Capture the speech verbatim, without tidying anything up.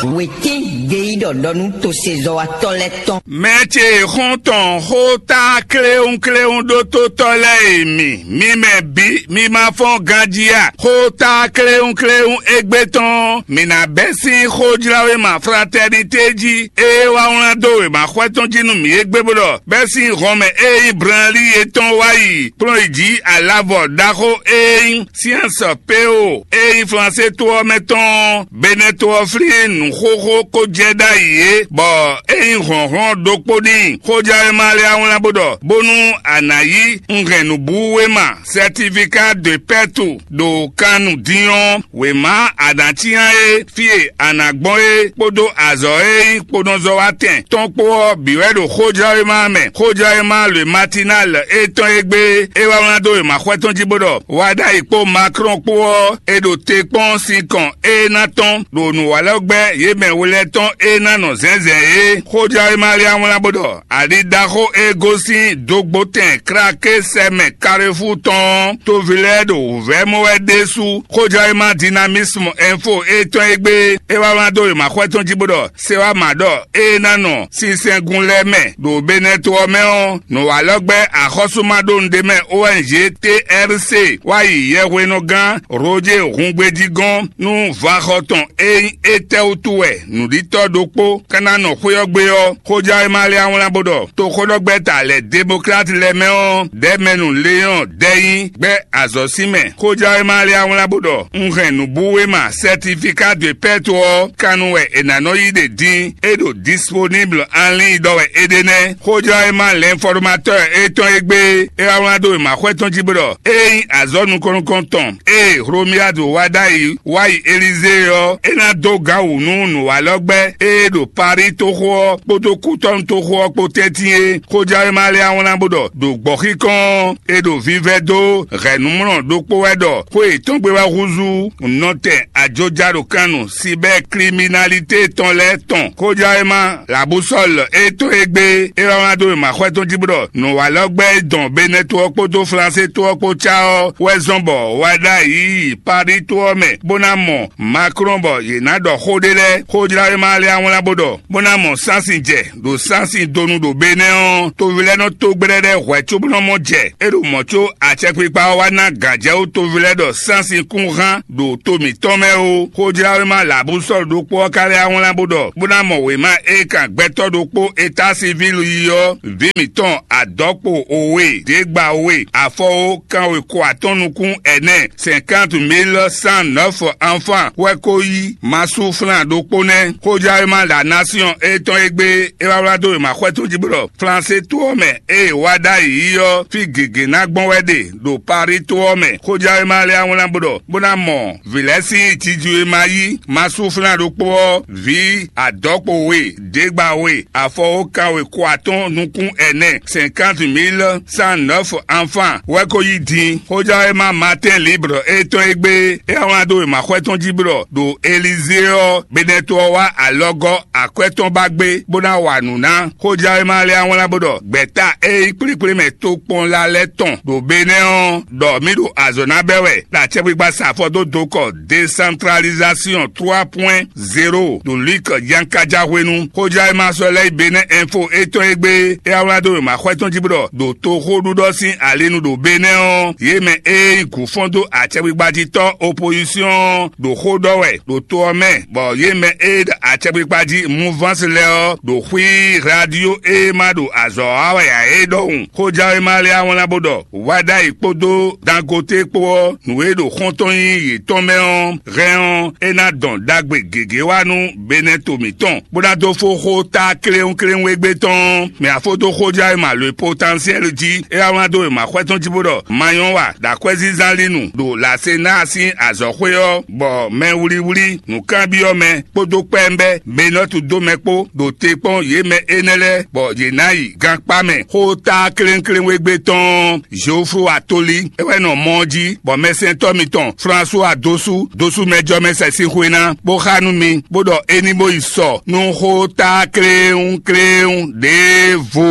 Wětín geyíɖɔ ɖɔ nú tosezɔ́watɔ́ lɛ́ɛ tɔn. Mɛ ce e xɔ́n tɔn xó tá kléwúnkléwún ɖótótɔ́ lɛ́ɛ e mi, mi mɛ bǐ, mi ma fɔ́n ganjí a? Xó tá kléwúnkléwún égbé tɔn, mǐ ná bɛ́ sín xójláwéma Fratɛnité jí, ée wá wlán dó wěma xwɛ tɔn jí nú mǐ égbé bó ɖɔ: Bɛ́ sín hɔnmɛ e nyí Branlí yětɔn wá yi kplɔ́n yi jǐ alavɔ ɖaxó e nyí Siɛnsɔ Peo e nyí Flansé to ɔ́ mɛ tɔn ɔ́, Benɛ́ to ɔ́ flín nǔxoxó kó jɛ ɖ'ayǐ é, bɔ é nyí hlɔ̌nhlɔ́n ɖokpó n'i. Xójɛwéma lɛ́ɛ wá wlán bó ɖɔ: Bónú a nǎ yí un hɛn nǔbúwéma, certificat de perte, ɖo kan nu din ɔ́, wěma a nǎ cyán é, fí e a nǎ gbɔn é kpódó azɔ̌ e nyí kponɔzɔ́watɛn tɔn kpó ɔ́ bǐ wɛ ɖo xójɛwéma mɛ. Xójɛwéma le Matinal étɔn e gbé é wá wlán dó wěma xwɛ tɔn jí bó ɖɔ: Wá ɖ'ayǐ kpó Maklɔ́n kpó ɔ́, è ɖo te kpɔ́n sinkɔn e ná tɔ́n ɖo nǔwalɔ́gbɛ́ yě mɛ we lɛ́ɛ tɔn e ná nɔ zɛ̌nzɛ̌n é. Xójɛwéma lɛ́ɛ wlán bó ɖɔ: Ali ɖaxó e gosín dógbótɛn kláké sɛ mɛ Kalefú tɔn ɔ́, toví lɛ́ɛ ɖo wǔvɛ́ mɔ wɛ ɖésú. Xójɛwéma Dinamismu Ɛnfo étɔn e gbé é wá wlán dó wěma xwɛ tɔn jí bó ɖɔ: Se wá mǎ ɖɔ ée ná nɔ sinsɛngun lɛ́ɛ mɛ ɖo Benɛ́ to ɔ́ mɛ ɔ́, nǔwalɔ́gbɛ́ axɔ́súmaɖónuɖémɛ O N G T R C wá yi yɛhwenɔgán Roger Hungbeji gɔ́n nú vaxɔ tɔn e nyí étɛ́ wútu wɛ nǔɖitɔ́ ɖokpó ka ná nɔ xwé ɔ́ gbe ɔ́, xójɛwéma lɛ́ɛ wlán bó ɖɔ: Toxóɖɔgbɛ́ta lɛ̌ Demokláti lɛ́ɛ mɛ ɔ́, Dɛ̌mɛnu Leɔ́n Dɛ́nyí gbɛ́ azɔ̌ sín mɛ. Xójɛwéma lɛ́ɛ wlán bó ɖɔ: Un hɛn nǔbúwéma, certificat de perte ɔ́, kannu wɛ è nǎ nɔ yí ɖe din; é ɖo disponible en ligne ɖɔ wɛ é ɖe nɛ́. Xójɛwéma L'Informateur étɔn e gbé é wá wlán dó wěma xwɛ tɔn jí bó ɖɔ: Ée nyí azɔ̌ nukɔn nukɔn tɔn e Hlomyadu wá ɖ'ayǐ wá yi Elizée ɔ́, é ná dó gǎn wǔ nú nǔwalɔ́gbɛ́ e ɖo Parí toxo ɔ́ kpódó Kútɔ́nu toxo ɔ́ kpó tɛ́ntin é. Xójɛwéma lɛ́ɛ wlán bó ɖɔ: Ɖo gbɔ̌xíkɔn ɔ́, è ɖo vivɛ́ dó hɛ̌nnumlɔ ɖokpó wɛ ɖɔ xó yětɔn gbe wɛ húzú nɔtɛn ajoja ɖo kan nu sibɛ́ kliminalité tɔn lɛ́ɛ tɔn. Xójɛwéma Labusɔ́l étɔn e gbé é wá wlán dó wěma xwɛ tɔn jí bó ɖɔ: Nǔwalɔ́gbɛ́ e dɔn Benɛ́ to ɔ́ kpódó Flansé to ɔ́ kpó cá ɔ́ wɛ zɔ́n bɔ wá ɖ'ayǐ yi Parí to ɔ́ mɛ, bó ná mɔ Maklɔ́n bɔ yě ná ɖɔ xó ɖé lɛ́ɛ. Xójlawéma lɛ́ɛ wlán bó ɖɔ: Bó ná mɔ sánsin jɛ ɖo sánsin donu ɖo Benɛ́ ɔ́, toví lɛ́ɛ nɔ tó gbɛ́ɖɛ́ɖɛ́ hwɛ̌ cóbó nɔ mɔ jɛ. É ɖo mɔ̌ có acɛkpikpa ɔ́ wá ná gǎnjɛwú toví lɛ́ɛ ɖɔ sánsin kún hán ɖo to mǐtɔn mɛ ó. Xójlawéma Labusɔ́lu ɖokpó ɔ́ ka lɛ́ wá wlán bó ɖɔ: Bó ná mɔ wěma e kan gbɛtɔ́ ɖokpó Etásivílu yi ɔ́, vǐ mǐtɔn adɔ̌kpo we, děgba we, afɔwo kanwe ko atɔ́n nukún ɛnɛ, cinquante mille cent neuf enfants wɛ ko yí masúflán ɖokpó nɛ́. Xójɛwéma La Nation étɔn e gbé é wá wlán dó wěma xwɛ tɔn jí bó ɖɔ: Flansé to ɔ́ mɛ e è wá ɖ'ayǐ yi ɔ́, fí gěgé ná gbɔn wɛ ɖe ɖo Parí to ɔ́ mɛ. Xójɛwéma lɛ́ɛ wlán bó ɖɔ: Bó ná mɔ vǐ lɛ́ɛ sín jiji e ma yí masúflán ɖokpó ɔ́, vǐ adɔ̌kpo we, děgba we, afɔwo kanwe ko atɔ́n nukún ɛnɛ, cinquante mille cent neuf enfants wɛ ko yí din. Xójɛwéma Matin Libre étɔn e gbé é wá wlán dó wěma xwɛ tɔn jí bó ɖɔ: Ɖo Elizée ɔ́, Benɛ́to ɔ́ wá alɔgɔ́ akwɛ́ tɔn ba gbé, bó ná wa nǔ ná. Xójɛwéma lɛ́ɛ wá wlán bó ɖɔ: Gbɛ̌ta e nyí kplékplémɛ tokpɔnla lɛ́ɛ tɔn ɖo Benɛ́ ɔ́, ɖɔ mǐ ɖo azɔ̌ ná bɛ́ wɛ ɖo acɛkpikpa sa afɔ dó dokɔ, décentralisation trois point zéro, ɖo Luc Yankaja hwenu. Xójɛwéma sɔ́ lɛ́ yi Benɛ́ Info étɔn e gbé é wá wlán dó wěma xwɛ tɔn jí bó ɖɔ: Ɖo toxóɖuɖɔ sín alinu ɖo Benɛ́ ɔ́, yě mɛ e nyí gǔfɔ́n dó acɛkpikpa jí tɔ́ opozísyɔn ɔ́ ɖo xó ɖɔ wɛ ɖo to ɔ́ mɛ, bɔ yě mɛ e ɖo acɛkpikpa jí mouvance lɛ́ɛ ɔ́ ɖo xwí radio e ma ɖo azɔ̌ wa wɛ ǎ é ɖɔhun. Xójɛwéma lɛ́ɛ wá wlán bó ɖɔ: Wá ɖ'ayǐ kpódó Dangote kpó ɔ́, nǔ e ɖo xɔ́ntɔn nyí yětɔn mɛ ɔ́ hɛn ɔ́, é ná dɔn ɖagbe gěgé wá nú Benɛ́ to mǐtɔn, bó ná dó fó xó tá kléwúnkléwún égbé tɔn ɔ́. Mɛ afó dó xójɛwéma Le Potentiel jí, é wá wlán dó wěma xwɛ tɔn jí bó ɖɔ: Ma nyɔ́ wa ɖo akwɛ́zínzán lí nu ɖo Lasenáa sín azɔ̌xwé ɔ́, bɔ mɛwlíwlí, nǔkanbyɔ́ mɛ kpódó kpɛ́nbɛ́ Benɔ́tu dó mɛ kpó ɖo te kpɔ́n yě mɛ énɛ́ lɛ́ɛ, bɔ yě ná yi gankpá mɛ. Xó tá klénklénwégbé tɔn ɔ́, Zoflo Atoli é wɛ nɔ mɔ ɔ́ jí, bɔ mɛsɛntɔ́ mitɔn Flasuwa Dosu, Dosu mɛ jɔ mɛ sɛ sín xwe ná, bó xá nú mi, bó ɖɔ é ní bó yi sɔ nú xó tá kléwúnkléwún ɖěvo.